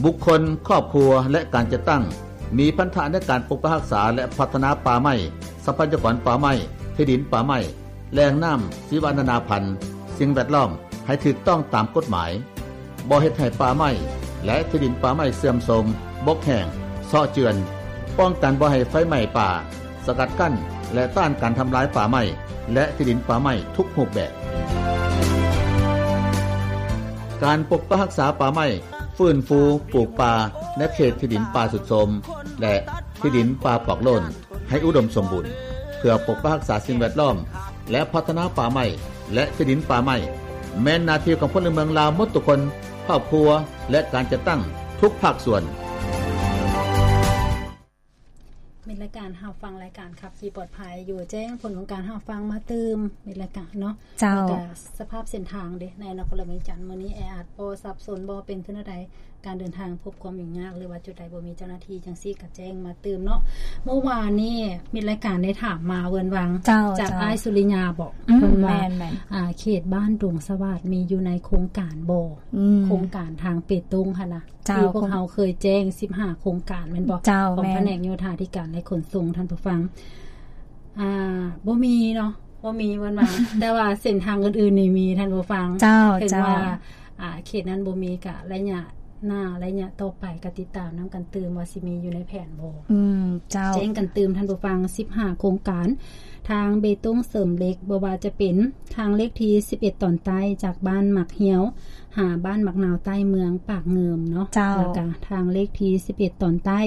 ບຸກຄົນ, ຄອບຄົວ ແລະ ການຈັດຕັ້ງ ມີພັນທະໃນການປົກປັກຮັກສາ ແລະ ພັດທະນາປ່າໄມ້, ຊັບພະຍາກອນປ່າໄມ້, ທີ່ດິນປ່າໄມ້, ແຫຼ່ງນ້ຳ, ຊີວະນານາພັນ, ສິ່ງແວດລ້ອມ ໃຫ້ຖືກຕ້ອງຕາມກົດໝາຍ, ບໍ່ເຮັດໃຫ້ປ່າໄມ້ ແລະ ທີ່ດິນປ່າໄມ້ເສື່ອມໂຊມ, ບົກແຫ້ງ, ເຊາະເຈື່ອນ, ປ້ອງກັນບໍ່ໃຫ້ໄຟໄໝ້ປ່າ, ສະກັດກັ້ນ ແລະ ຕ້ານການທຳລາຍປ່າໄມ້ ແລະ ທີ່ດິນປ່າໄມ້ທຸກຮູບແບບ. ການປົກປັກຮັກສາປ່າໄມ້, ຟື້ນຟູປູກປ່າໃນເຂດທີ່ດິນປ່າຊຸດໂຊມ ແລະ ທີ່ດິນປ່າປອກໂລ້ນ ໃຫ້ອຸດົມສົມບູນ ເພື່ອປົກປັກຮັກສາສິ່ງແວດລ້ອມ ແລະ ພັດທະນາປ່າໄມ້ ແລະ ທີ່ດິນປ່າໄມ້ ແມ່ນໜ້າທີ່ຂອງພົນລະເມືອງລາວໝົດທຸກຄົນ, ຄອບຄົວ ແລະ ການຈັດຕັ້ງທຸກພາກສ່ວນ. ມິດລາຍການຮັບຟັງລາຍການຂັບຂີ່ປອດໄພຢູ່ ແຈ້ງຜົນຂອງການຮັບຟັງມາຕື່ມ ມິດລາຍການເນາະ. ເຈົ້າ ແລ້ວກະສະພາບເສັ້ນທາງເດ ໃນນະຄອນຫຼວງວຽງຈັນ ມື້ນີ້ແອອັດບໍ່ ສັບສົນບໍ່ ເປັນຄືແນວໃດ? ການເດີນທາງພົບຄວາມຫຍຸ້ງຍາກ ຫຼືວ່າຈຸດໃດບໍ່ມີເຈົ້າໜ້າທີ່ ຈັ່ງຊີ້ກະແຈ້ງມາຕື່ມເນາະ. ເມື່ອວານນີ້ມິດລາຍການໄດ້ຖາມມາເວີນວັງ ເຈົ້າ ຈາກ ເຈົ້າ ອ້າຍສຸລິຍາບໍ ອືມ ເພິ່ນວ່າ ແມ່ນໆ ອ່າ ເຂດບ້ານດົງສະຫວາດມີຢູ່ໃນໂຄງການບໍ່? ອືມ ໂຄງການທາງເປຕົງຫັ້ນນະ ເຈົ້າ ທີ່ພວກເຮົາເຄີຍແຈ້ງສິບຫ້າໂຄງການແມ່ນບໍ່? ເຈົ້າ ຂອງ ແມ່ນ ພະແນກໂຍທາທິການ ແລະ ຂົນສົ່ງ ທ່ານຜູ້ຟັງ. ອ່າ ບໍ່ມີເນາະ ບໍ່ມີເພິ່ນວ່າ ແຕ່ວ່າເສັ້ນທາງອື່ນໆນີ້ມີ ທ່ານຜູ້ຟັງ. ເຈົ້າ ເຖິງ ເຈົ້າ ວ່າ ອ່າ ເຂດນັ້ນບໍ່ມີ ກະໄລຍະໜ້າ ໄລຍະຕໍ່ໄປກະຕິດຕາມນຳກັນຕື່ມວ່າຊິມີຢູ່ໃນແຜນບໍ່. ອືມ ເຈົ້າ ແຈ້ງກັນຕື່ມ ທ່ານຜູ້ຟັງ ສິບຫ້າໂຄງການ ທາງເບຕົງເສີມເຫຼັກ ບໍ່ວ່າຈະເປັນທາງເລກທີສິບເອັດຕອນໃຕ້ ຈາກບ້ານໝາກຫ່ຽວ ຫາບ້ານໝາກນາວໃຕ້ ເມືອງປາກງື່ມເນາະ. ເຈົ້າ ແລ້ວກະທາງເລກທີສິບເອັດຕອນໃຕ້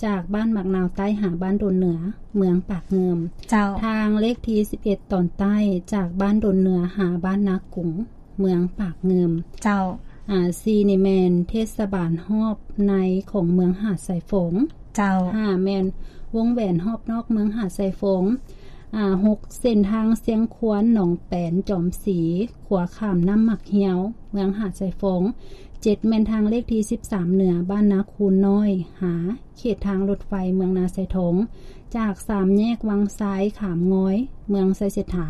ຈາກບ້ານໝາກນາວໃຕ້ຫາບ້ານດົນເໜືອ ເມືອງປາກງື່ມ. ເຈົ້າ ທາງເລກທີສິບເອັດຕອນໃຕ້ ຈາກບ້ານດົນເໜືອຫາບ້ານນາກຸງ ເມືອງປາກງື່ມ. ເຈົ້າ ອ່າ ສີ່ນີ້ແມ່ນເທດສະບານຮອບໃນຂອງເມືອງຫາດຊາຍຟອງ. ເຈົ້າ ຫ້າແມ່ນວົງແຫວນຮອບນອກເມືອງຫາດຊາຍຟອງ. ອ່າ ຫົກ ເສັ້ນທາງຊຽງຄວານ ໜອງແປນ ຈອມສີ ຂົວຂ້າມນ້ຳໝາກຫ່ຽວ ເມືອງຫາດຊາຍຟອງ. ເຈັດແມ່ນທາງເລກທີສິບສາມເໜືອ ບ້ານນາຄູນນ້ອຍ ຫາເຂດທາງລົດໄຟເມືອງນາຊາຍທອງ ຈາກສາມແຍກວັງຊາຍ ຂາມງອຍ ເມືອງໄຊເສດຖາ.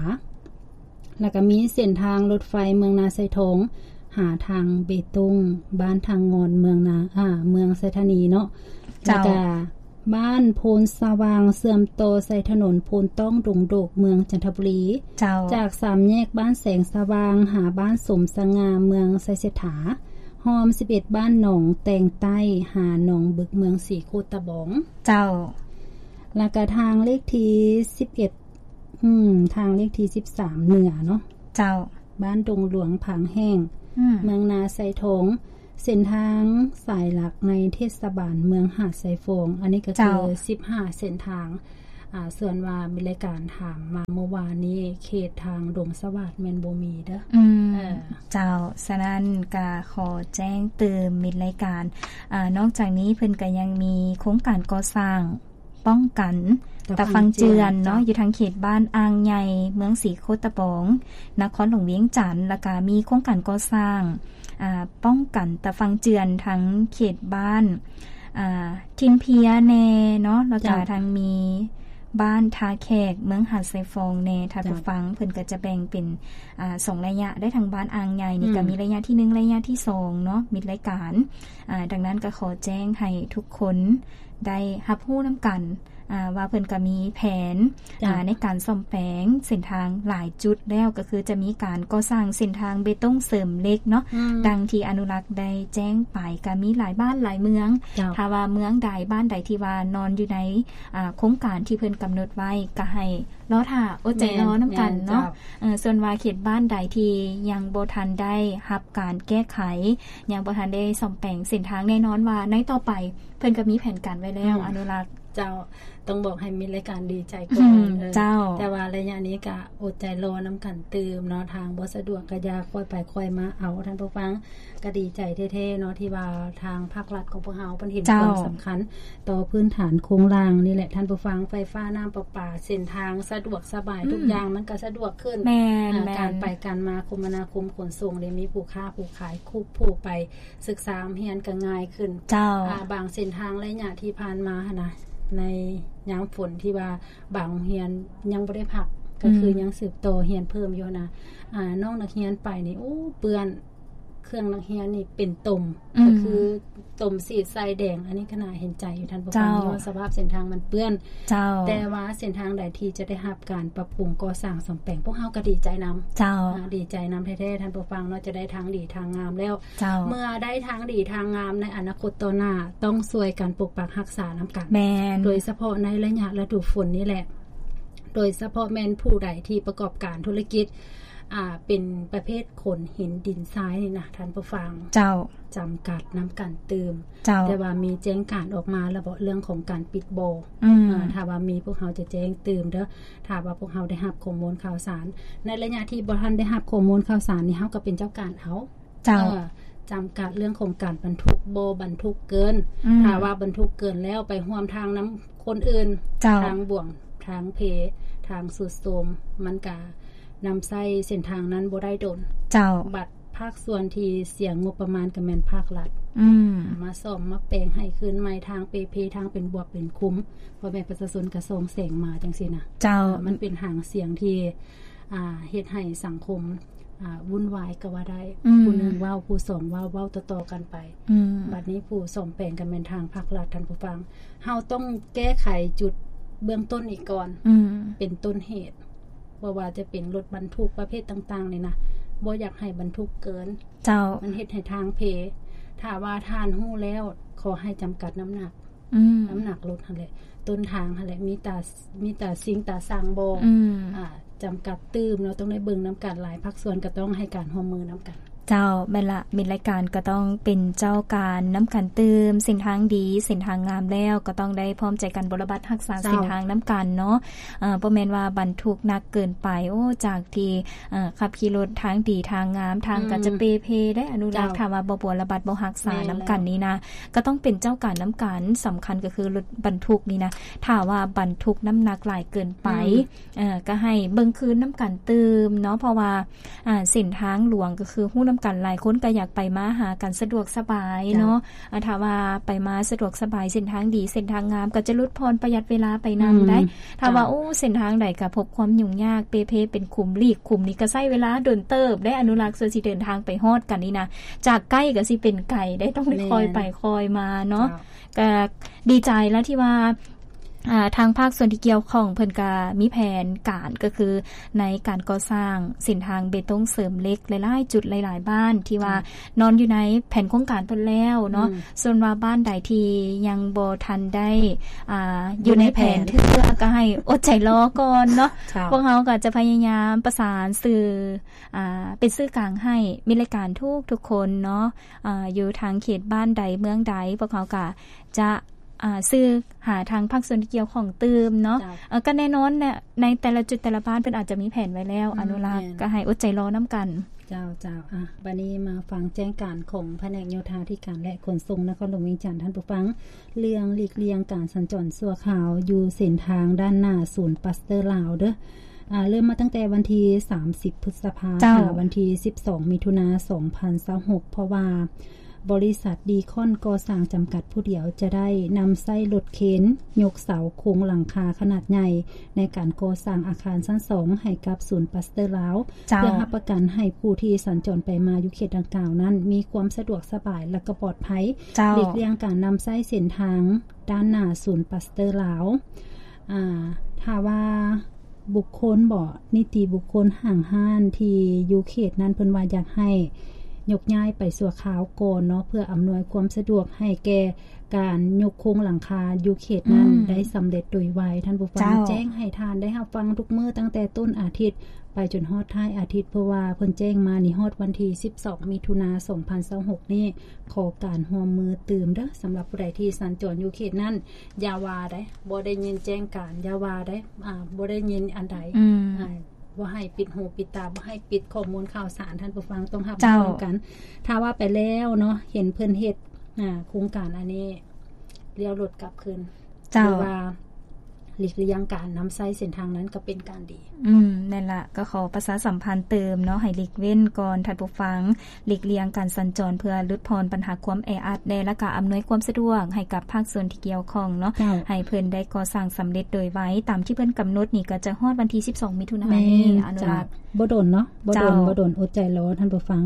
ແລ້ວກະມີເສັ້ນທາງລົດໄຟເມືອງນາຊາຍທອງ ຫາທາງເບຕົງ ບ້ານທ່າງ່ອນ ເມືອງນາ ອ່າ ເມືອງໄຊທານີເນາະ. ເຈົ້າ ແລ້ວກະ ບ້ານໂພນສະຫວ່າງ ເຊື່ອມຕໍ່ໃສ່ຖະໜົນໂພນຕ້ອງດົງໂດກ ເມືອງຈັນທະບູລີ. ເຈົ້າ ຈາກສາມແຍກບ້ານແສງສະຫວ່າງ ຫາບ້ານສົມສະຫງ່າ ເມືອງໄຊເສດຖາ, ຮອມສິບເອັດບ້ານໜອງແຕງໃຕ້ ຫາໜອງບຶກ ເມືອງສີໂຄດຕະບອງ. ເຈົ້າ ແລ້ວກະທາງເລກທີສິບເອັດ ອືມ ທາງເລກທີສິບສາມເໜືອເນາະ. ເຈົ້າ ບ້ານດົງຫຼວງ ຜາງແຫ້ງ ອືມ ເມືອງນາຊາຍທອງ. ເສັ້ນທາງສາຍຫຼັກໃນເທດສະບານເມືອງຫາດຊາຍຟອງ ອັນນີ້ກະຄື ເຈົ້າ ສິບຫ້າເສັ້ນທາງ. ອ່າ ສ່ວນວ່າມີລາຍການຖາມມາເມື່ອວານນີ້ ເຂດທາງດົງສະຫວາດແມ່ນບໍ່ມີເດີ. ອືມ ເອີ ເຈົ້າ ສະນັ້ນກະຂໍແຈ້ງຕື່ມມິດລາຍການ. ອ່າ ນອກຈາກນີ້ເພິ່ນກະຍັງມີໂຄງການກໍ່ສ້າງ ປ້ອງກັນຕາຝັ່ງເຈື່ອນເນາະ ຢູ່ທາງເຂດບ້ານອ່າງໃຫຍ່ ເມືອງສີໂຄດຕະບອງ ນະຄອນຫຼວງວຽງຈັນ ແລ້ວກະມີໂຄງການກໍ່ສ້າງ ອ່າ ປ້ອງກັນຕາຝັ່ງເຈື່ອນ ທັງເຂດບ້ານ ອ່າ ຖິ່ນເພຍແດ່ເນາະ ແລ້ວກະ ເຈົ້າ ທັງມີບ້ານທ່າແຂກ ເມືອງຫາດຊາຍຟອງແດ່. ທ່ານ ເຈົ້າ ຜູ້ຟັງ ເພິ່ນກະຈະແບ່ງເປັນ ອ່າ ສອງໄລຍະ ໄດ້ທາງບ້ານອ່າງໃຫຍ່ນີ້ ອືມ ກະມີໄລຍະທີໜຶ່ງ ໄລຍະທີສອງເນາະ ມິດລາຍການ. ອ່າ ດັ່ງນັ້ນກະຂໍແຈ້ງໃຫ້ທຸກຄົນ ໄດ້ຮັບຮູ້ນຳກັນ ອ່າ ວ່າເພິ່ນກະມີແຜນ ເຈົ້າ ອ່າ ໃນການສ້ອມແປງເສັ້ນທາງຫຼາຍຈຸດແລ້ວ ກະຄືຈະມີການກໍ່ສ້າງເສັ້ນທາງເບຕົງເສີມເຫຼັກເນາະ ອືມ ດັ່ງທີ່ອະນຸລັກໄດ້ແຈ້ງໄປ ກະມີຫຼາຍບ້ານຫຼາຍເມືອງ. ເຈົ້າ ຖ້າວ່າເມືອງໃດ ບ້ານໃດທີ່ວ່ານອນຢູ່ໃນ ອ່າ ໂຄງການທີ່ເພິ່ນກຳນົດໄວ້ ກະໃຫ້ລໍຖ້າ ອົດໃຈລໍນຳກັນເນາະ. ແມ່ນ ແມ່ນ ເຈົ້າ ເອີ ສ່ວນວ່າເຂດບ້ານໃດທີ່ຍັງບໍ່ທັນໄດ້ຮັບການແກ້ໄຂ ຍັງບໍ່ທັນໄດ້ສ້ອມແປງເສັ້ນທາງ ແນ່ນອນວ່າໃນຕໍ່ໄປ ເພິ່ນກະມີແຜນການໄວ້ແລ້ວ ອືມ ອະນຸລັກ. ເຈົ້າ ຕ້ອງບອກໃຫ້ມິດລາຍການດີໃຈກ່ອນ. ອືມ ເອີ ເຈົ້າ ແຕ່ວ່າໄລຍະນີ້ກະອົດໃຈລໍນຳກັນຕື່ມເນາະ ທາງບໍ່ສະດວກກະຢ່າຄ່ອຍໄປຄ່ອຍມາເອົາ. ທ່ານຜູ້ຟັງ ກະດີໃຈແທ້ໆເນາະ ທີ່ວ່າທາງພາກລັດຂອງພວກເຮົາເພິ່ນເຫັນ ເຈົ້າ ຄວາມສຳຄັນຕໍ່ພື້ນຖານໂຄງລ່າງນີ້ແຫຼະ ທ່ານຜູ້ຟັງ. ໄຟຟ້າ ນ້ຳປະປາ ເສັ້ນທາງສະດວກສະບາຍ ອືມ ທຸກຢ່າງມັນກະສະດວກຂຶ້ນ. ແມ່ນ ອ່າ ແມ່ນ ການໄປການມາ ຄົມມະນາຄົມຂົນສົ່ງ ໄດ້ມີຜູ້ຄ້າຜູ້ຂາຍ ຄູບຜູ້ໄປ ສຶກສາຮຽນກະງ່າຍຂຶ້ນ. ເຈົ້າ ອ່າ ບາງເສັ້ນທາງໄລຍະທີ່ຜ່ານມາຫັ້ນນະ ໃນຍາມຝົນທີ່ວ່າບາງໂຮງຮຽນຍັງບໍ່ໄດ້ພັກ ກະຄື ອືມ ຍັງສືບຕໍ່ຮຽນເພີ່ມຢູ່ຫັ້ນນະ ອ່າ ນ້ອງນັກຮຽນໄປນີ້ ໂອ້ ເປື້ອນ ເຄື່ອງນັກຮຽນນີ້ເປັນຕົມ ອືມ ກະຄື ຕົມສີດໃສ່ແດງ ອັນນີ້ກໍໜ້າເຫັນໃຈຢູ່ທ່ານຜູ້ຟັງ ເຈົ້າ ຍ້ອນສະພາບເສັ້ນທາງມັນເປື້ອນ ເຈົ້າ ແຕ່ວ່າເສັ້ນທາງໃດທີ່ຈະໄດ້ຮັບການປັບປຸງກໍ່ສ້າງສ້ອມແປງ ພວກເຮົາກໍດີໃຈນຳ ເຈົ້າ ອ່າ ດີໃຈນຳແທ້ໆ ທ່ານຜູ້ຟັງເນາະ ຈະໄດ້ທາງດີທາງງາມແລ້ວ ເຈົ້າ ເມື່ອໄດ້ທາງດີທາງງາມໃນອະນາຄົດຕໍ່ໜ້າ ຕ້ອງຊ່ວຍກັນປົກປັກຮັກສານຳກັນ ແມ່ນ ໂດຍສະເພາະໃນໄລຍະລະດູຝົນນີ້ແຫຼະ ໂດຍສະເພາະແມ່ນຜູ້ໃດທີ່ປະກອບການທຸລະກິດ ອ່າ ເປັນປະເພດຂົນຫີນດິນຊາຍນີ້ນະ ທ່ານຜູ້ຟັງ ເຈົ້າ ຈຳກັດນຳກັນຕື່ມ ເຈົ້າ ແຕ່ວ່າມີແຈ້ງການອອກມາແລ້ວບໍ ເລື່ອງຂອງການປິດບໍ່? ອືມ ອ່າ ຖ້າວ່າມີພວກເຮົາຈະແຈ້ງຕື່ມເດີ ຖ້າວ່າພວກເຮົາໄດ້ຮັບຂໍ້ມູນຂ່າວສານ ໃນໄລຍະທີ່ບໍ່ທັນໄດ້ຮັບຂໍ້ມູນຂ່າວສານນີ້ ເຮົາກໍເປັນເຈົ້າການເອົາ ເຈົ້າ ເອີ ຈຳກັດເລື່ອງຂອງການບັນທຸກ ບໍ່ບັນທຸກເກີນ ອືມ ຖ້າວ່າບັນທຸກເກີນແລ້ວໄປຮ່ວມທາງນຳຄົນອື່ນ ເຈົ້າ ທາງບວມ ທາງເພ ທາງຊຸດໂຊມ ມັນກະນຳໃຊ້ເສັ້ນທາງນັ້ນບໍ່ໄດ້ດົນ ເຈົ້າ ບັດພາກສ່ວນທີ່ເສຍງົບປະມານກໍແມ່ນພາກລັດ ອືມ ມາສ້ອມມາແປງໃຫ້ຄືນໃໝ່ ທາງເປເພ ທາງເປັນບວບເປັນຂຸມ ພໍ່ແມ່ປະຊາຊົນກໍສ່ອງແສງມາຈັ່ງຊີ້ນະ ເຈົ້າ ມັນເປັນຫາງສຽງທີ່ ອ່າ ເຮັດໃຫ້ສັງຄົມ ອ່າ ວຸ້ນວາຍກໍວ່າໄດ້ ອືມ ຜູ້ໜຶ່ງເວົ້າ ຜູ້ສອງເວົ້າ ເວົ້າຕໍ່ໆກັນໄປ ອືມ ບັດນີ້ຜູ້ສ້ອມແປງກໍແມ່ນທາງພາກລັດ ທ່ານຜູ້ຟັງ ເຮົາຕ້ອງແກ້ໄຂຈຸດເບື້ອງຕົ້ນນີ້ກ່ອນ ອືມ ເປັນຕົ້ນເຫດ ບໍ່ວ່າຈະເປັນລົດບັນທຸກປະເພດຕ່າງໆນີ້ນະ ບໍ່ຢາກໃຫ້ບັນທຸກເກີນ ເຈົ້າ ມັນເຮັດໃຫ້ທາງເພ ຖ້າວ່າທ່ານຮູ້ແລ້ວ ຂໍໃຫ້ຈຳກັດນ້ຳໜັກ ອືມ ນ້ຳໜັກລົດຫັ້ນແຫຼະ ຕົ້ນທາງຫັ້ນແຫຼະ ມີຕາ ມີຕາຊິງຕາຊ່າງບໍ່ ອືມ ອ່າ ຈຳກັດຕື່ມເນາະ ຕ້ອງໄດ້ເບິ່ງນຳກັນ ຫຼາຍພາກສ່ວນກໍຕ້ອງໃຫ້ການຮ່ວມມືນຳກັນ. ເຈົ້າ ແມ່ນລະ ມິດລາຍການກໍຕ້ອງເປັນເຈົ້າການນຳກັນຕື່ມ ເສັ້ນທາງດີ ເສັ້ນທາງງາມແລ້ວ ກໍຕ້ອງໄດ້ພ້ອມໃຈກັນບົວລະບັດຮັກສາ ເຈົ້າ ເສັ້ນທາງນຳກັນເນາະ ເອີ ບໍ່ແມ່ນວ່າບັນທຸກໜັກເກີນໄປ ໂອ້ ຈາກທີ່ ເອີ ຂັບຂີ່ລົດທາງດີທາງງາມ ທາງກໍຈະ ອືມ ເປເພໄດ໋ ອະນຸລັກ ເຈົ້າ ຖ້າວ່າບໍ່ບົວລະບັດ ບໍ່ຮັກສາ ແມ່ນແລ້ວ ນຳກັນນີ້ນະ ກໍຕ້ອງເປັນເຈົ້າການນຳກັນ ສຳຄັນກໍຄືລົດບັນທຸກນີ້ນະ ຖ້າວ່າບັນທຸກນ້ຳໜັກຫຼາຍເກີນໄປ ອືມ ເອີ ກໍໃຫ້ເບິ່ງຄືນນຳກັນຕື່ມເນາະ ເພາະວ່າ ອ່າ ເສັ້ນທາງຫຼວງກໍຄືຮູ້ນຳກັນ ຫຼາຍຄົນກໍຢາກໄປມາຫາກັນສະດວກສະບາຍເນາະ ເຈົ້າ ອ່າ ຖ້າວ່າໄປມາສະດວກສະບາຍ ເສັ້ນທາງດີ ເສັ້ນທາງງາມ ກໍຈະຫຼຸດຜ່ອນປະຢັດເວລາໄປນຳ ອືມ ໄດ໋ ຖ້າວ່າ ເຈົ້າ ໂອ້ ເສັ້ນທາງໃດກໍພົບຄວາມຫຍຸ້ງຍາກ ເປເພເປັນຂຸມ ຫຼີກຂຸມນີ້ກໍໃຊ້ເວລາດົນເຕີບໄດ໋ ອະນຸລັກ ສ່ວນຊິເດີນທາງໄປຮອດກັນນີ້ນະ ຈາກໃກ້ກໍຊິເປັນໄກໄດ໋ ຕ້ອງໄດ້ ແມ່ນ ຄ່ອຍໄປຄ່ອຍມາເນາະ ເຈົ້າ ກໍດີໃຈແລ້ວທີ່ວ່າ ອ່າ ທາງພາກສ່ວນທີ່ກ່ຽວຂ້ອງເພິ່ນກະມີແຜນການ ກໍຄືໃນການກໍ່ສ້າງເສັ້ນທາງເບຕົງເສີມເຫຼັກຫຼາຍໆຈຸດ ຫຼາຍໆບ້ານ ທີ່ວ່າ ອືມ ນອນຢູ່ໃນແຜນໂຄງການເພິ່ນແລ້ວເນາະ ອືມ ສ່ວນວ່າບ້ານໃດທີ່ຍັງບໍ່ທັນໄດ້ ອ່າ ຢູ່ໃນແຜນເທື່ອ ກໍໃຫ້ອົດໃຈລໍກ່ອນເນາະ ເຈົ້າ ພວກເຮົາກໍຈະພະຍາຍາມປະສານສື່ ອ່າ ເປັນສື່ກາງໃຫ້ມິດລາຍການທຸກໆຄົນເນາະ ອ່າ ຢູ່ທາງເຂດບ້ານໃດເມືອງໃດ ພວກເຮົາກໍຈະ ອ່າ ສື່ຫາທາງພາກສ່ວນທີ່ກ່ຽວຂ້ອງຕື່ມເນາະ ເຈົ້າ ເອີ ກໍແນ່ນອນແຫຼະ ໃນແຕ່ລະຈຸດແຕ່ລະບ້ານເພິ່ນອາດຈະມີແຜນໄວ້ແລ້ວ ອືມ ອະນຸລັກ ແມ່ນ ກໍໃຫ້ອົດໃຈລໍນຳກັນ. ເຈົ້າ ເຈົ້າ ອ່ະ ບາດນີ້ມາຟັງແຈ້ງການຂອງພະແນກໂຍທາທິການ ແລະ ຂົນສົ່ງນະຄອນຫຼວງວຽງຈັນ ທ່ານຜູ້ຟັງ ເລື່ອງຫຼີກລ່ຽງການສັນຈອນຊົ່ວຄາວຢູ່ເສັ້ນທາງດ້ານໜ້າສູນປາສເຕີລາວເດີ ອ່າ ເລີ່ມມາຕັ້ງແຕ່ວັນທີສາມສິບ ພຶດສະພາ ເຈົ້າ ຫາວັນທີສິບສອງ ມິຖຸນາ ສອງພັນຊາວຫົກ ເພາະວ່າ ບໍລິສັດດີຄອນກໍ່ສ້າງຈຳກັດຜູ້ດຽວ ຈະໄດ້ນຳໃຊ້ລົດເຄນຍົກເສົາໂຄງຫຼັງຄາຂະໜາດໃຫຍ່ ໃນການກໍ່ສ້າງອາຄານຊັ້ນສອງໃຫ້ກັບສູນປາສເຕີລາວ ເຈົ້າ ເພື່ອຮັບປະກັນໃຫ້ຜູ້ທີ່ສັນຈອນໄປມາຢູ່ເຂດດັ່ງກ່າວນັ້ນ ມີຄວາມສະດວກສະບາຍ ແລະ ກໍປອດໄພ ເຈົ້າ ຫຼີກລ່ຽງການນຳໃຊ້ເສັ້ນທາງດ້ານໜ້າສູນປາສເຕີລາວ. ອ່າ ຖ້າວ່າ ບຸກຄົນບໍ ນິຕິບຸກຄົນຫ້າງຮ້ານທີ່ຢູ່ເຂດນັ້ນ ເພິ່ນວ່າຢາກໃຫ້ຍົກຍ້າຍໄປຊົ່ວຄາວກ່ອນເນາະ ເພື່ອອຳນວຍຄວາມສະດວກໃຫ້ແກ່ການຍົກໂຄງຫຼັງຄາຢູ່ເຂດນັ້ນ ອືມ ໄດ້ສຳເລັດໂດຍໄວ. ທ່ານຜູ້ຟັງ ເຈົ້າ ແຈ້ງໃຫ້ທ່ານໄດ້ຮັບຟັງທຸກມື້ ຕັ້ງແຕ່ຕົ້ນອາທິດໄປຈົນຮອດທ້າຍອາທິດ ເພາະວ່າເພິ່ນແຈ້ງມານີ້ ຮອດວັນທີສິບສອງ ມິຖຸນາ ສອງພັນຊາວຫົກນີ້ ຂໍການຮ່ວມມືຕື່ມເດີ ສຳລັບຜູ້ໃດທີ່ສັນຈອນຢູ່ເຂດນັ້ນ. ຢ່າວ່າໄດ໋ ບໍ່ໄດ້ຍິນແຈ້ງການ ຢ່າວ່າໄດ໋ ອ່າ ບໍ່ໄດ້ຍິນອັນໃດ ອືມ ອ່າ ບໍ່ໃຫ້ປິດຫູປິດຕາ ບໍ່ໃຫ້ປິດຂໍ້ມູນຂ່າວສານ ທ່ານຜູ້ຟັງຕ້ອງຮັບຮູ້ນຳກັນ. ເຈົ້າ ຖ້າວ່າໄປແລ້ວເນາະ ເຫັນເພິ່ນເຮັດ ອ່າ ໂຄງການອັນນີ້ ລ້ຽວລົດກັບຄືນ ເຈົ້າ ຫຼືວ່າຫຼີກລ່ຽງການນຳໃຊ້ເສັ້ນທາງນັ້ນ ກໍເປັນການດີ. ອືມ ນັ້ນລະ ກໍຂໍປະຊາສຳພັນຕື່ມເນາະ ໃຫ້ຫຼີກເວັ້ນກ່ອນ ທ່ານຜູ້ຟັງ ຫຼີກລ່ຽງການສັນຈອນ ເພື່ອຫຼຸດຜ່ອນບັນຫາຄວາມແອອັດແດ່ ແລ້ວກະອຳນວຍຄວາມສະດວກໃຫ້ກັບພາກສ່ວນທີ່ກ່ຽວຂ້ອງເນາະ ເຈົ້າ ໃຫ້ເພິ່ນໄດ້ກໍ່ສ້າງສຳເລັດໂດຍໄວ ຕາມທີ່ເພິ່ນກຳນົດນີ້ ກໍຈະຮອດວັນທີສິບສອງ ມິຖຸນານີ້ ແມ່ນ ອະນຸລັກ ເຈົ້າ ບໍ່ດົນເນາະ ບໍ່ດົນ ເຈົ້າ ບໍ່ດົນ ອົດໃຈລໍ ທ່ານຜູ້ຟັງ.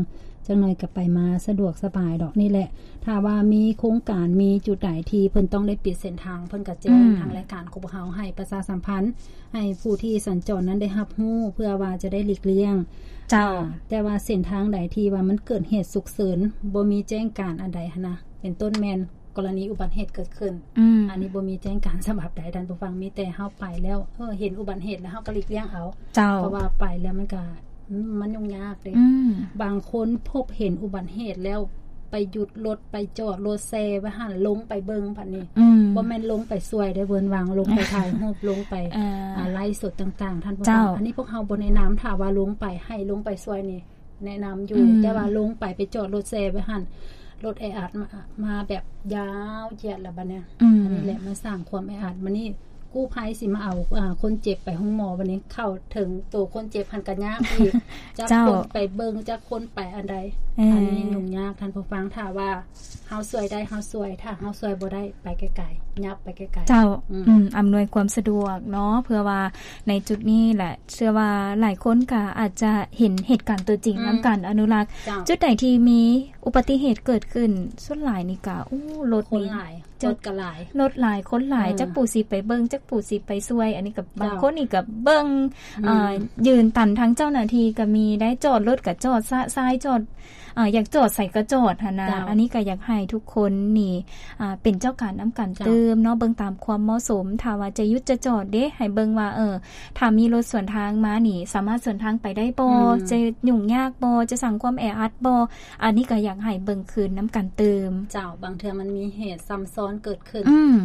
ຈັກໜ່ອຍກໍໄປມາສະດວກສະບາຍດອກ. ນີ້ແຫຼະ ຖ້າວ່າມີໂຄງການ ມີຈຸດໃດທີ່ເພິ່ນຕ້ອງໄດ້ປິດເສັ້ນທາງ ເພິ່ນກໍແຈ້ງ ອືມ ທາງລາຍການກໍບໍ່ເຮົາໃຫ້ປະຊາສຳພັນ ໃຫ້ຜູ້ທີ່ສັນຈອນນັ້ນໄດ້ຮັບຮູ້ ເພື່ອວ່າຈະໄດ້ຫຼີກລ່ຽງ. ເຈົ້າ. ອາ ແຕ່ວ່າເສັ້ນທາງໃດທີ່ວ່າມັນເກີດເຫດສຸກເສີນ ບໍ່ມີແຈ້ງການອັນໃດຫັ້ນນະ ເປັນຕົ້ນແມ່ນ ກໍລະນີອຸບັດເຫດເກີດຂຶ້ນ ອືມ ອັນນີ້ບໍ່ມີແຈ້ງການສະບັບໃດທ່ານຜູ້ຟັງ ມີແຕ່ເຮົາໄປແລ້ວ ເອີ ເຫັນອຸບັດເຫດແລ້ວເຮົາກໍຫຼີກລ່ຽງເອົາ. ເຈົ້າ. ເພາະວ່າໄປແລ້ວມັນກໍ ອືມ ມັນຫຍຸ້ງຍາກເດ້. ອືມ. ບາງຄົນພົບເຫັນອຸບັດເຫດແລ້ວ ໄປຢຸດລົດ ໄປຈອດລົດແຊ່ໄວ້ຫັ້ນ ລົງໄປເບິ່ງບັດນີ້ ອືມ ບໍ່ແມ່ນລົງໄປຊ່ວຍເດ້ ເວີນວາງ ລົງໄປຖ່າຍຮູບ ລົງໄປ ເອີ ອາ ໄລຟ໌ສົດຕ່າງໆ ທ່ານຜູ້ຟັງ. ເຈົ້າ. ອັນນີ້ພວກເຮົາບໍ່ແນະນຳ ຖ້າວ່າລົງໄປ ໃຫ້ລົງໄປຊ່ວຍນີ້ ແນະນຳຢູ່ ອືມ ແຕ່ວ່າລົງໄປ ໄປຈອດລົດແຊ່ໄວ້ຫັ້ນ ລົດແອອັດມາ ມາແບບຍາວຢຽດລະບັດເນີ້ຍ ອືມ ອັນນີ້ແຫຼະມາສ້າງຄວາມແອອັດ. ບັດນີ້ກູ້ໄພຊິມາເອົາ ອາ ຄົນເຈັບໄປໂຮງໝໍ ບັດນີ້ເຂົ້າເຖິງໂຕຄົນເຈັບຫັ້ນກໍຍາກອີກ ຈັກ ເຈົ້າ ຄົນໄປເບິ່ງ ຈັກຄົນໄປອັນໃດ ເອີ ອັນນີ້ຫຍຸ້ງຍາກທ່ານຜູ້ຟັງ. ຖ້າວ່າ ເຮົາຊ່ວຍໄດ້ເຮົາຊ່ວຍ ຖ້າເຮົາຊ່ວຍບໍ່ໄດ້ ໄປໄກໆ ຫຍັບໄປໄກໆ. ເຈົ້າ. ອືມ ອຳນວຍຄວາມສະດວກເນາະ ເພື່ອວ່າໃນຈຸດນີ້ແຫຼະ ເຊື່ອວ່າຫຼາຍຄົນກໍອາດຈະເຫັນເຫດການຕົວຈິງ ອືມ ນຳກັນ ອະນຸລັກ. ເຈົ້າ. ຈຸດໃດທີ່ມີອຸບັດຕິເຫດເກີດຂຶ້ນ ສ່ວນຫຼາຍນີ້ກໍ ໂອ້ ລົດນີ້ ຄົນຫຼາຍ ລົດກໍຫຼາຍ ລົດຫຼາຍ ຄົນຫຼາຍ ອືມ ຈັກຜູ້ຊິໄປເບິ່ງ ຈັກຜູ້ຊິໄປຊ່ວຍ. ອັນນີ້ກໍ ເຈົ້າ ບາງຄົນນີ້ກໍເບິ່ງ ອືມ ເອີ ຢືນຕັນທາງເຈົ້າໜ້າທີ່ກໍມີໄດ໋ ຈອດລົດກໍຈອດ ຊະຊາຍຈອດ ອາ ຢາກຈອດໃສກໍຈອດຫັ້ນນະ. ເຈົ້າ. ອັນນີ້ກໍຢາກໃຫ້ທຸກຄົນນີ້ ອາ ເປັນເຈົ້າການນຳກັນ ເຈົ້າ ຕື່ມເນາະ ເບິ່ງຕາມຄວາມເໝາະສົມ. ຖ້າວ່າຈະຢຸດຈະຈອດເດ້ ໃຫ້ເບິ່ງວ່າ ເອີ ຖ້າມີລົດສວນທາງມານີ້ ສາມາດສວນທາງໄປໄດ້ບໍ່? ອືມ. ຈະຫຍຸ້ງຍາກບໍ່? ຈະສ້າງຄວາມແອອັດບໍ່? ອັນນີ້ກໍຢາກໃຫ້ເບິ່ງຄືນນຳກັນຕື່ມ. ເຈົ້າ. ບາງເທື່ອມັນມີເຫດຊ້ຳຊ້ອນເກີດຂຶ້ນ. ອືມ.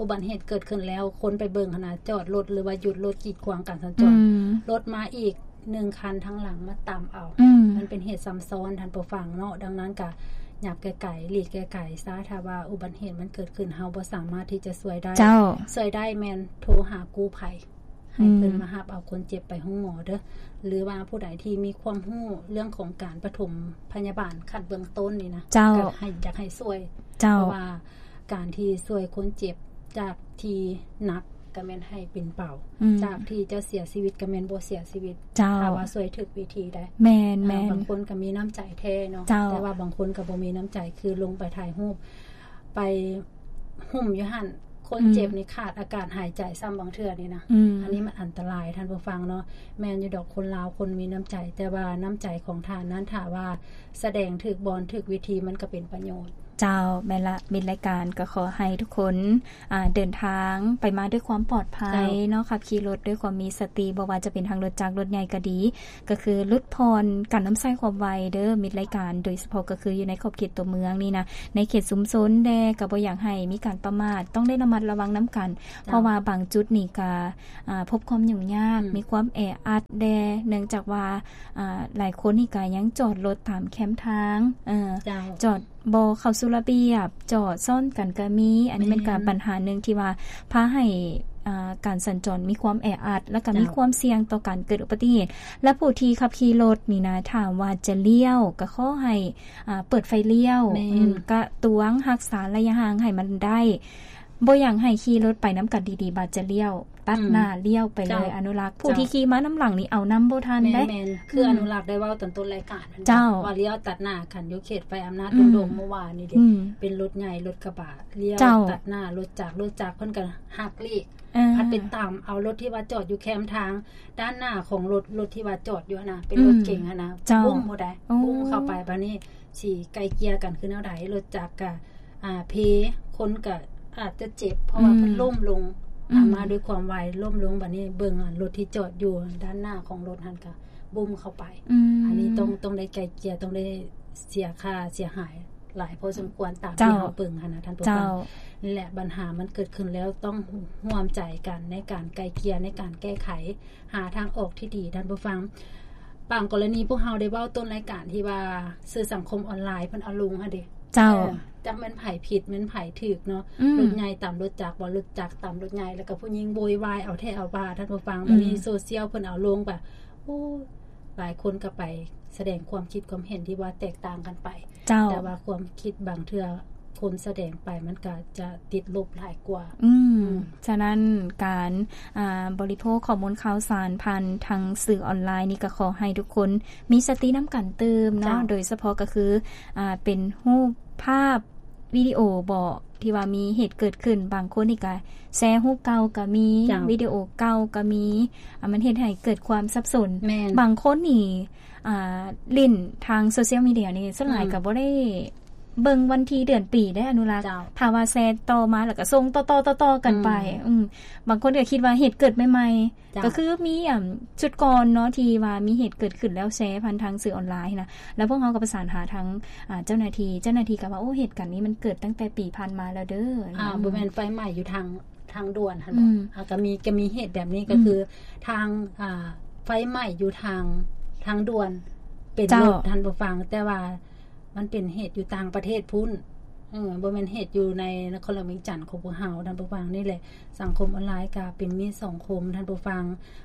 ອຸບັດເຫດເກີດຂຶ້ນແລ້ວ ຄົນໄປເບິ່ງຫັ້ນນະ ຈອດລົດ ຫຼືວ່າຢຸດລົດກີດຂວາງການສັນຈອນ. ອືມ. ລົດມາອີກ ໜຶ່ງຄັນທາງຫຼັງມາຕຳເອົາ. ອືມ. ມັນເປັນເຫດຊ້ຳຊ້ອນ ທ່ານຜູ້ຟັງເນາະ. ດັ່ງນັ້ນກະຫຍັບໄກໆ ຫຼີກໄກໆຊະ. ຖ້າວ່າອຸບັດເຫດມັນເກີດຂຶ້ນ ເຮົາບໍ່ສາມາດທີ່ຈະຊ່ວຍໄດ້. ເຈົ້າ. ຊ່ວຍໄດ້ແມ່ນໂທຫາກູ້ໄພ ໃຫ້ເພິ່ນ ອືມ ມາຮັບເອົາຄົນເຈັບໄປໂຮງໝໍເດີ ຫຼືວ່າຜູ້ໃດທີ່ມີຄວາມຮູ້ເລື່ອງຂອງການປະຖົມພະຍາບານຂັ້ນເບື້ອງຕົ້ນນີ້ນະ. ເຈົ້າ. ກໍໃຫ້ ຢາກໃຫ້ຊ່ວຍ. ເຈົ້າ. ເພາະວ່າ ການທີ່ຊ່ວຍຄົນເຈັບຈາກທີ່ໜັກກໍແມ່ນໃຫ້ເປັນເບົາ. ອືມ. ຈາກທີ່ຈະເສຍຊີວິດກໍແມ່ນບໍ່ເສຍຊີວິດ. ເຈົ້າ. ຖ້າວ່າຊ່ວຍຖືກວິທີໄດ໋. ແມ່ນໆ. ບາງຄົນກໍມີນ້ຳໃຈແທ້ເນາະ. ເຈົ້າ. ແຕ່ວ່າບາງຄົນກໍບໍ່ມີນ້ຳໃຈ ຄືລົງໄປຖ່າຍຮູບ ໄປຫຸ້ມຢູ່ຫັ້ນ ຄົນເຈັບ ອືມ ນີ້ຂາດອາການຫາຍໃຈຊ້ຳບາງເທື່ອນີ້ນະ. ອືມ. ອັນນີ້ມັນອັນຕະລາຍ ທ່ານຜູ້ຟັງເນາະ. ແມ່ນຢູ່ດອກ ຄົນລາວຄົນມີນ້ຳໃຈ ແຕ່ວ່ານ້ຳໃຈຂອງທ່ານນັ້ນ ຖ້າວ່າສະແດງຖືກບ່ອນຖືກວິທີ ມັນກໍເປັນປະໂຫຍດ. ເຈົ້າ ແມ່ນລະ ມິດລາຍການກໍຂໍໃຫ້ທຸກຄົນ ອ່າ ເດີນທາງໄປມາດ້ວຍຄວາມປອດໄພ ເຈົ້າ ເນາະ, ຂັບຂີ່ລົດດ້ວຍຄວາມມີສະຕິ, ບໍ່ວ່າຈະເປັນທາງລົດຈັກ ລົດໃຫຍ່ກໍດີ, ກໍຄືຫຼຸດຜ່ອນການນຳໃຊ້ຄວາມໄວເດີ ມິດລາຍການ, ໂດຍສະເພາະກໍຄືຢູ່ໃນຂອບເຂດຕົວເມືອງນີ້ນະ, ໃນເຂດຊຸມຊົນແດ່ ກໍບໍ່ຢາກໃຫ້ມີການປະໝາດ, ຕ້ອງໄດ້ລະມັດລະວັງນຳກັນ, ເຈົ້າ ເພາະວ່າບາງຈຸດນີ້ກໍ ອ່າ ພົບຄວາມຫຍຸ້ງຍາກ, ອືມ ມີຄວາມແອອັດແດ່ ເນື່ອງຈາກວ່າ ອ່າ ຫຼາຍຄົນນີ້ກໍຍັງຈອດລົດຕາມແຄມທາງ, ເອີ ເຈົ້າ ຈອດ ບໍ່ເຂົ້າສູ່ລະບຽບ, ຈອດຊ້ອນກັນກໍມີ. ອັນນີ້ມັນກໍ ແມ່ນ ບັນຫາໜຶ່ງທີ່ວ່າພາໃຫ້ ອ່າ ການສັນຈອນມີຄວາມແອອັດ ແລ້ວກໍມີ ເຈົ້າ ຄວາມສ່ຽງຕໍ່ການເກີດອຸບັດຕິເຫດ. ແລະ ຜູ້ທີ່ຂັບຂີ່ລົດນີ້ນະ ຖ້າວ່າຈະລ້ຽວ ກໍຂໍໃຫ້ ອ່າ ເປີດໄຟລ້ຽວ, ແມ່ນ ອືມ ກະຕວງຮັກສາໄລຍະຫ່າງໃຫ້ມັນໄດ້. ບໍ່ຢາກໃຫ້ຂີ່ລົດໄປນຳກັນດີໆ ບາດຈະລ້ຽວ ຕັດ ອືມ ໜ້າລ້ຽວໄປເລີຍ. ເຈົ້າ ອະນຸລັກ ຜູ້ ເຈົ້າ ທີ່ຂີ່ມານຳຫຼັງນີ້ເອົານຳບໍ່ທັນເດ້. ແມ່ນໆ ຄື ອືມ ອະນຸລັກໄດ້ເວົ້າຕອນຕົ້ນລາຍການ ເຈົ້າ ວ່າລ້ຽວຕັດໜ້າກັນຢູ່ເຂດໄຟອຳນາດ ອືມ ດົງໂດງເມື່ອວານນີ້ເດ້ ອືມ ເປັນລົດໃຫຍ່ລົດກະບະລ້ຽວ ເຈົ້າ ຕັດໜ້າລົດຈັກ, ລົດຈັກເພິ່ນກໍຫັກຫຼີກ ເອີ ພັດໄປຕຳເອົາລົດທີ່ວ່າຈອດຢູ່ແຄມທາງ ດ້ານໜ້າຂອງລົດ, ລົດທີ່ວ່າຈອດຢູ່ຫັ້ນນະ ເປັນ ອືມ ລົດເກັງຫັ້ນນະ ເຈົ້າ ບຸ້ມຜູ້ໃດ ໂອ້ ບຸ້ມເຂົ້າໄປ. ບາດນີ້ຊິໄກ່ເກ່ຍກັນຄືແນວໃດ? ລົດຈັກກະ ອ່າ ເພ ຄົນກໍອາດຈະເຈັບ ເພາະວ່າ ອືມ ເພິ່ນລົ້ມລົງ ອືມ ອ່າ ມາດ້ວຍຄວາມໄວ ລົ້ມລົງ. ບາດນີ້ເບິ່ງ ອ່າ ລົດທີ່ຈອດຢູ່ດ້ານໜ້າຂອງລົດຫັ້ນກໍບຸ້ມເຂົ້າໄປ. ອືມ ອັນນີ້ຕ້ອງ ຕ້ອງໄດ້ໄກ່ເກ່ຍ ຕ້ອງໄດ້ເສຍຄ່າເສຍຫາຍຫຼາຍພໍສົມຄວນ ຕາມ ເຈົ້າ ທີ່ເຮົາເບິ່ງຫັ້ນນະ ທ່ານຜູ້ຟັງ. ເຈົ້າ ແລະ ບັນຫາມັນເກີດຂຶ້ນແລ້ວ ຕ້ອງຮ່ວມໃຈກັນໃນການໄກ່ເກ່ຍ ໃນການແກ້ໄຂ ຫາທາງອອກທີ່ດີ ທ່ານຜູ້ຟັງ. ບາງກໍລະນີພວກເຮົາໄດ້ເວົ້າຕົ້ນລາຍການທີ່ວ່າສື່ສັງຄົມອອນລາຍເພິ່ນເອົາລົງຫັ້ນເດ. ເຈົ້າ ເອີ ຈັກແມ່ນໃຜຜິດແມ່ນໃຜຖືກເນາະ. ອືມ ລົດໃຫຍ່ຕຳລົດຈັກບໍ ລົດຈັກຕຳລົດໃຫຍ່ ແລ້ວກໍຜູ້ຍິງໂວຍວາຍເອົາແທ້ເອົາວ່າ ທ່ານຜູ້ຟັງ. ອືມ ບັດນີ້ໂຊຊຽວເພິ່ນເອົາລົງໄປ ໂອ້ ຫຼາຍຄົນກໍໄປສະແດງຄວາມຄິດຄວາມເຫັນທີ່ວ່າແຕກຕ່າງກັນໄປ. ເຈົ້າ ແຕ່ວ່າຄວາມຄິດບາງເທື່ອ ຄົນສະແດງໄປ ມັນກໍຈະຕິດລົບຫຼາຍກວ່າ. ອືມ ອືມ ສະນັ້ນ ການ ອ່າ ບໍລິໂພກຂໍ້ມູນຂ່າວສານຜ່ານທາງສື່ອອນລາຍນີ້ ກໍຂໍໃຫ້ທຸກຄົນມີສະຕິນຳກັນຕື່ມເນາະ ເຈົ້າ ໂດຍສະເພາະກໍຄື ອ່າ ເປັນຮູບພາບ ວິດີໂອບໍ ທີ່ວ່າມີເຫດເກີດຂຶ້ນ ບາງຄົນນີ້ກະແຊຮູບເກົ່າກະມີ ເຈົ້າ ວິດີໂອເກົ່າກະມີ ອ່າ ມັນເຮັດໃຫ້ເກີດຄວາມສັບສົນ. ແມ່ນ ບາງຄົນນີ້ ອ່າ ຫຼິ້ນທາງໂຊຊຽວມີເດຍນີ້ ສ່ວນຫຼາຍ ອືມ ກະບໍ່ໄດ້ເບິ່ງວັນທີເດືອນປີເດ້ ອະນຸລັກ ເຈົ້າ ຖ້າວ່າແຊຕໍ່ມາແລ້ວກະສົ່ງຕໍ່ໆໆກັນໄປ. ອືມ ອືມ ບາງຄົນກະຄິດວ່າເຫດເກີດໃໝ່ໆ ເຈົ້າ ກໍຄືມີ ອ່າ ຊຸດກ່ອນເນາະ ທີ່ວ່າມີເຫດເກີດຂຶ້ນແລ້ວແຊຜ່ານທາງສື່ອອນລາຍນະ ແລ້ວພວກເຮົາກໍປະສານຫາທາງ ອ່າ ເຈົ້າໜ້າທີ່ ເຈົ້າໜ້າທີ່ກໍວ່າ ໂອ້ ເຫດການນີ້ມັນເກີດຕັ້ງແຕ່ປີຜ່ານມາແລ້ວເດີ. ອ່າ ອືມ ບໍ່ແມ່ນໄຟໄໝ້ຢູ່ທາງ ທາງດ່ວນຫັ້ນ ອືມ ອ່າ ກໍມີ ກໍມີເຫດແບບນີ້ ອືມ ກໍຄືທາງ ອ່າ ໄຟໄໝ້ຢູ່ທາງ ທາງດ່ວນ ເປັນ ເຈົ້າ ລົດ ທ່ານຜູ້ຟັງ ແຕ່ວ່າ ມັນເປັນເຫດຢູ່ຕ່າງປະເທດພຸ້ນ ເອີ ບໍ່ແມ່ນເຫດຢູ່ໃນນະຄອນຫຼວງວຽງຈັນຂອງພວກເຮົາ. ທ່ານຜູ້ຟັງ ນີ້ແຫຼະ ສັງຄົມອອນລາຍກະເປັນມິດສອງຄົມ ທ່ານຜູ້ຟັງ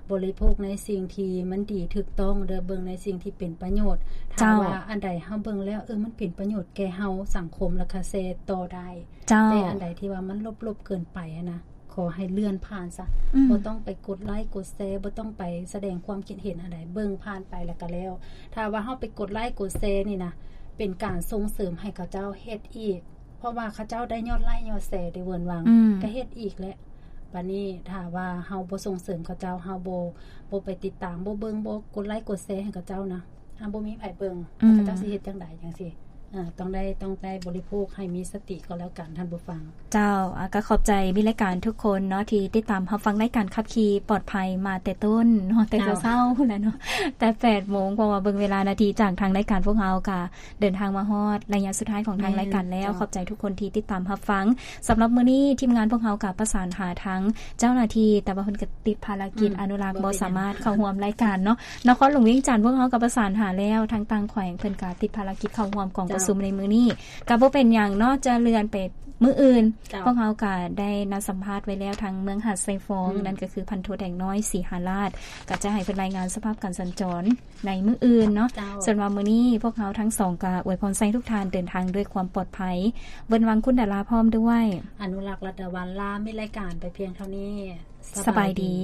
ບໍລິໂພກໃນສິ່ງທີ່ມັນດີຖືກຕ້ອງເດີ ເບິ່ງໃນສິ່ງທີ່ເປັນປະໂຫຍດ. ເຈົ້າ ຖ້າວ່າອັນໃດເຮົາເບິ່ງແລ້ວ ເອີ ມັນເປັນປະໂຫຍດແກ່ເຮົາ ສັງຄົມ ແລ້ວກະແຊຕໍ່ໄດ້. ເຈົ້າ ແຕ່ອັນໃດທີ່ວ່າມັນລົບໆເກີນໄປຫັ້ນນະ ຂໍໃຫ້ເລື່ອນຜ່ານຊະ ອືມ ບໍ່ຕ້ອງໄປກົດໄລກົດແຊ ບໍ່ຕ້ອງໄປສະແດງຄວາມຄິດເຫັນອັນໃດ ເບິ່ງຜ່ານໄປແລ້ວກໍແລ້ວ. ຖ້າວ່າເຮົາໄປກົດໄລກົດແຊນີ້ນະ ເປັນການສົ່ງເສີມໃຫ້ເຂົາເຈົ້າເຮັດອີກ ເພາະວ່າເຂົາເຈົ້າໄດ້ຍອດໄລຍອດແຊໄດ້ເວີນວັງ ອືມ ກໍເຮັດອີກແຫຼະ. ບາດນີ້ຖ້າວ່າເຮົາບໍ່ສົ່ງເສີມເຂົາເຈົ້າ ເຮົາບໍ່ ບໍ່ໄປຕິດຕາມ ບໍ່ເບິ່ງ ບໍ່ກົດໄລກົດແຊໃຫ້ເຂົາເຈົ້ານະ ຖ້າບໍ່ມີໃຜເບິ່ງ ອືມ ແລ້ວເຂົາເຈົ້າຊິເຮັດຈັ່ງໃດຈັ່ງຊີ້? ເອີ ຕ້ອງໄດ້ ຕ້ອງໄດ້ບໍລິໂພກໃຫ້ມີສະຕິກໍແລ້ວກັນ ທ່ານຜູ້ຟັງ. ເຈົ້າ ອາ ກໍຂອບໃຈມິດລາຍການທຸກຄົນເນາະ ທີ່ຕິດຕາມຮັບຟັງລາຍການຂັບຂີ່ປອດໄພມາແຕ່ຕົ້ນເນາະ ແຕ່ ເຈົ້າ ເຊົ້າໆພຸ້ນແຫຼະເນາະ ແຕ່ແປດໂມງ ເພາະວ່າເບິ່ງເວລານາທີ ຈາກທາງລາຍການພວກເຮົາກໍເດີນທາງມາຮອດໄລຍະສຸດທ້າຍຂອງທາງ ແມ່ນ ລາຍການແລ້ວ. ເຈົ້າ ຂອບໃຈທຸກຄົນທີ່ຕິດຕາມຮັບຟັງ. ສຳລັບມື້ນີ້ທີມງານພວກເຮົາກໍປະສານຫາທາງເຈົ້າໜ້າທີ່ ແຕ່ວ່າເພິ່ນກໍຕິດພາລະກິດ ອືມ ອະນຸລັກ ບໍ່ ບໍ່ເປັນຫຍັງ ສາມາດເຂົ້າຮ່ວມລາຍການເນາະ. ນະຄອນຫຼວງວຽງຈັນ ພວກເຮົາກໍປະສານຫາແລ້ວ ທາງຕ່າງແຂວງເພິ່ນກໍຕິດພາລະກິດເຂົ້າຮ່ວມກອງ ເຈົ້າ ປະຊຸມໃນມື້ນີ້ ກໍບໍ່ເປັນຫຍັງເນາະ ຈະເລື່ອນໄປມື້ອື່ນ. ເຈົ້າ ພວກເຮົາກໍໄດ້ນັດສຳພາດໄວ້ແລ້ວ ທາງເມືອງຫາດຊາຍຟອງ ອືມ ນັ້ນກໍຄືພັນໂທແດງນ້ອຍ ສີຫາລາດ ກໍຈະໃຫ້ເພິ່ນລາຍງານສະພາບການສັນຈອນໃນມື້ອື່ນເນາະ. ເຈົ້າ ສ່ວນວ່າມື້ນີ້ພວກເຮົາທັງສອງກໍອວຍພອນໃຫ້ທຸກທ່ານເດີນທາງດ້ວຍຄວາມປອດໄພ ເວີນວັງ ຄຸນດາລາ ພ້ອມດ້ວຍ ອະນຸລັກ ລັດດາວັນ ລາມິດລາຍການໄປພຽງເທົ່ານີ້. ສະບາຍດີ.